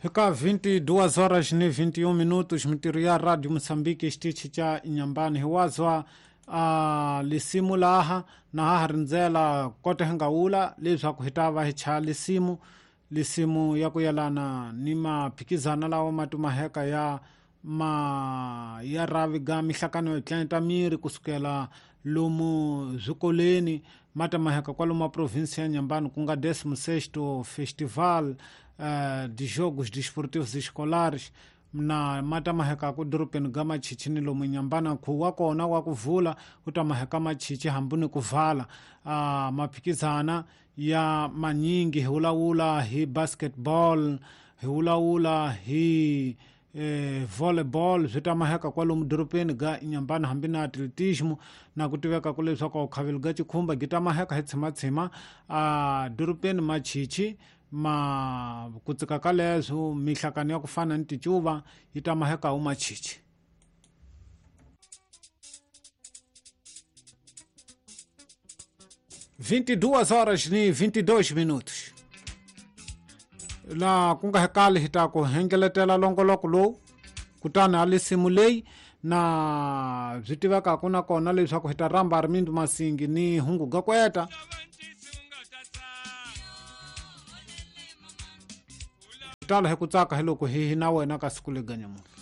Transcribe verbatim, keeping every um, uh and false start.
Hika vinte e duas horas ni vinte e um minutos, mintirho ya Rádio Moçambique xitichi xa Inhambane hiwazwa uh, lisimu laha na ha rindzela kote hi nga wula leswaku hi ta va hi chaya lisimu lisimu ya ku yelana ni maphikizana lawa ma tumaheka ya ma ya ravi ga mihlakano yo tlenta miri kusukela lomu swikolweni ma tamaheka kwalomu a província ya Inhambane ku nga décimo sexto Festival uh, de Jogos Desportivos Escolares na ma tamaheka ku dorobeni ga Machichi ni lomu Inhambane nkhuvo wa kona wa ku vula wu tamaheka Machichi hambi ni ku vala uh, maphikizana ya manyingi hi vulavula hi basketball hi vulavula hi eh, volleyball swi tamaheka kwalomu dorobeni ga Inhambane hambi na atletismo na ku tiveka ku leswaku vukhaveli ga chikhumba byi tamaheka hi tshimatshima a dorobeni Machichi ma ku tsika ka leswo mihlakano ya ku fana ni ticuva yi tamaheka wu Machichi. vinte e duas horas ni vinte e dois minutos. La ku nga hekali hi ta ku hengeletela longoloko lowu kutani a lisimu leyi na byi tivekaka na kona leswaku hi ta rhamba Armindo Masingi ni hungu ga kweta tala hi ku tsaka hi loko hi hi na wena ka siku lega nyamuntlha.